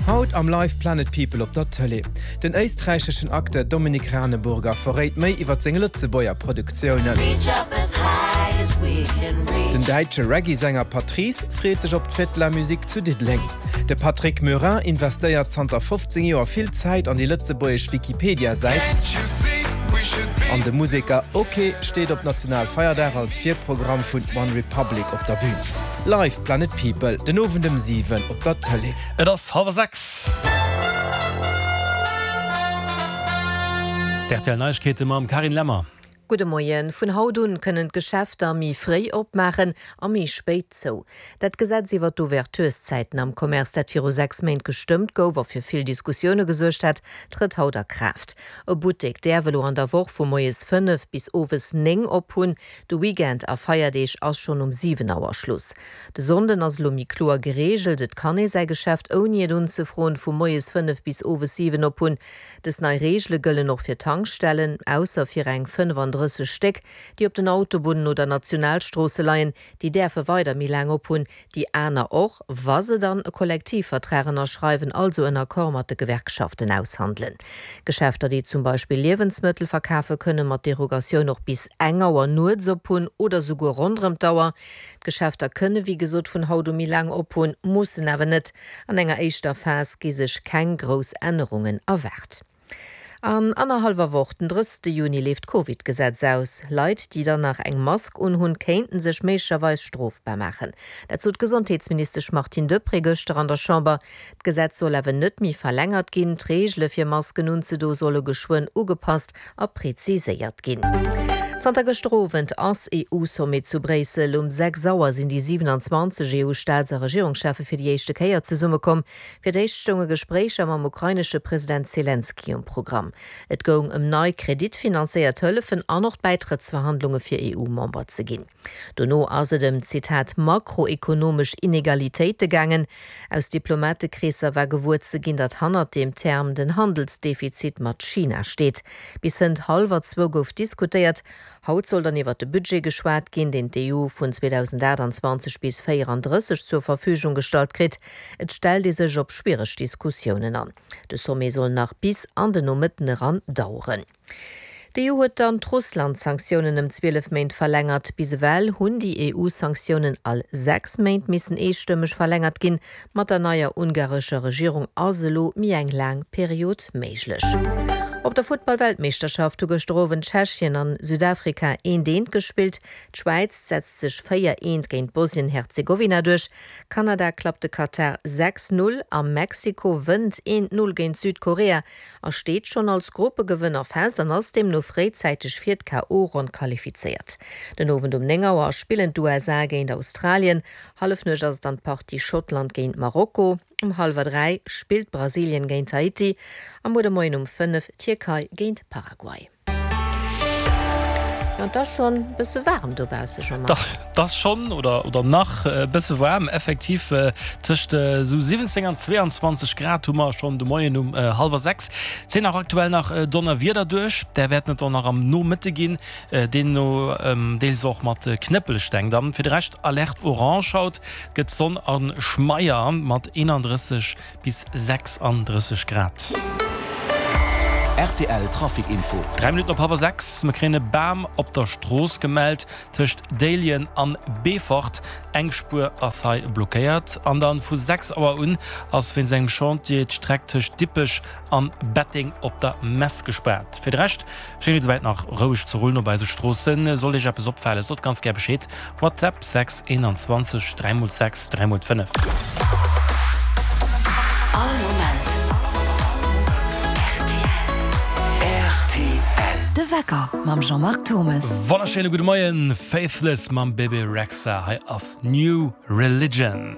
Haut am Live Planet People op der Tëlee. Den éisträicheschen Acteur Dominik Raneburger verréit méi iwwer seng Lëtzebuerger Produktiounen. Den däitsche Reggae-Sänger Patrice freet sech op d'Fête de la Musique zu Diddeleng. De Patrick Murin investéiert zanter 15 Joer vill Zäit an déi lëtzebuergesch Wikipedia-Säit. An de Museker Oké steet op Nationalfeierdag als Virprogramm vun One Republic op der Bün. Live Planet People den Owend ëm 7 op der Tëlee. Et ass hallwer 6. D'RTL Neiegkeete mam Carine Lemmer. Gudde Moien. Vun haut un kënnen d'Geschäfter méi fréi opmaachen a méi spéit zou. Dat Gesetz iwwer d'Ouvertureszäiten am Commerce, dat viru 6 Méint gestëmmt gouf a fir vill Diskussioune gesuergt hat, trëtt haut a Kraaft. E Buttek däerf elo an der Woch vu moies 5 bis owes 9 op hunn. De Weekend a Feierdeeg ass schonn um 7 Auer Schluss. De Sonnden ass elo méi kloer gereegelt, Et kann ee säi Geschäft ouni et unzefroen vu moies 5 bis owes 7 op hunn. Dës nei Reegele gëllen och fir Tankstellen, ausser fir eng 35 Stéck, déi op den Autobunnen oder Nationalstroosse leien. Déi däerfe weider méi laang op hunn, déi aner och, wa se dann e Kollektivvertrag ënnerschreiwen, also en Accord mat de Gewerkschaften aushandelen. Geschäfter, déi zum Beispill Liewensmëttel verkafe kënne mat Derogatioun och bis eng Auer nuets op hunn oder souguer ronderëm d'Auer. D'Geschäfter kënne wéi gesot vun haut u méi laang op hunn, mussen awer net. An enger éischter Phas gi sech keng grouss Ännerungen erwaart. An annerhallwer Woch, den 30 Juni, leeft d'Covid-Gesetz aus. Leit, déi dann nach eng Mask unhunn, kéinten sech méiglecherweis strofbar maachen. Dat sot d'Gesondheetsministesch Martine Deprez gëschter an der Chamber. D'Gesetz soll awer net méi verlängert ginn. D'Reegele fir Masken unzedoe solle geschwënn ugepasst a preziséiert ginn. Zanter gëschter Owend ass EU-Sommet zu Bréissel. Um 6 Auer sinn déi 27 EU-Staats a Regierungscheffe fir déi éischte Kéier zesummekomm. Fir d'éischt stounge Gespréicher mam ukrainesche President Selenskyj um Programm. Et goung ëm nei kreditfinanzéiert Hëllefen an och d'Bäitrëttsverhandlunge fir EU-Member ze ginn. Dono ass et ëm, Zitat, makroekonomesch Inegalitéite gaangen. Aus Diplomatekreesser war gewuer ze ginn, datt hannert deem Term den Handelsdefizit mat China steet. Bis hënt hallwer zwou gouf diskutéiert. Haut soll dann iwwer de Budget geschwat ginn, deen d'EU vun 2028 bis 34 zur Verfügung gestallt kritt. Et stellt ee sech op schwiereg Diskussiounen an. De Sommet soll nach bis an den Nomëtten eran daueren. D'EU huet dann d'Russland-Sanktiounen ëm 12 Méint verlängert. Bis ewell hunn déi EU-Sanktiounen all 6 Méint missen eestëmmeg verlängert ginn. Mat der neier ungarescher Regierung ass elo méi eng laang Period méiglech. Op der Futtball-Weltmeeschterschaft hu gëschter Owend Tschechien an Südafrika eent eent gespillt. D'Schwäiz setzt sech 4 eent géint Bosnien-Herzegowina duerch. Kanada klappt de Katar 6, 0 a Mexiko wënnt eent 0 géint Südkorea. A steet schonn als Gruppegewënner fest an ass deemno fréizäiteg fir d'KO-Ronn qualifizéiert. Den Owend um 9 Auer spillen d'USA géint Australien, Hallefnuecht ass et dann d'Partie Schottland géint Marokko, um hallwer 3 spillt Brasilien géint Haiti a muer de Moien um 5 d'Tierkei géint Paraguay. Jo, et ass schonn e bësse waarem dobausse, Jean-Marc. Et ass schonn, oder oder nach e bësse waarm, effektiv. Tëscht esou 17 an 22 Grad hu mer schonn de Moien um hallwer 6. Et sinn och aktuell nach Donnerwieder duerch, där wäerten et och nach am Nomëtte ginn, deemno deels och mat Knëppelsteng. Dann fir de Rescht Alerte orange haut, gëtt Sonn a Schmeier mat 31 Bis 36 Grad. Rtl Trafic Info. 3 Minutten op hallwer 6, Mer kréien e Bam op der Strooss gemellt tëscht Déiljen an Beefort. Eng Spuer ass hei blockéiert. An dann vu 6 Auer un ass wéinst engem Chantier d'Streck tëscht Dippech an Betteng op der Mess gespaart. Fir de Rescht Schéngt et souwäit nach roueg ze rullen op eise Stroossen. Sollt Iech eppes opfalen, sot ganz gär Bescheed. WhatsApp 6 21 3 x 6 3 x 5. All Moment rtl. De Wecker mam Jean-Marc Thommes. Wonnerschéine gudde Moien. Faithless mam Bebe Rexha. Hei ass New Religion.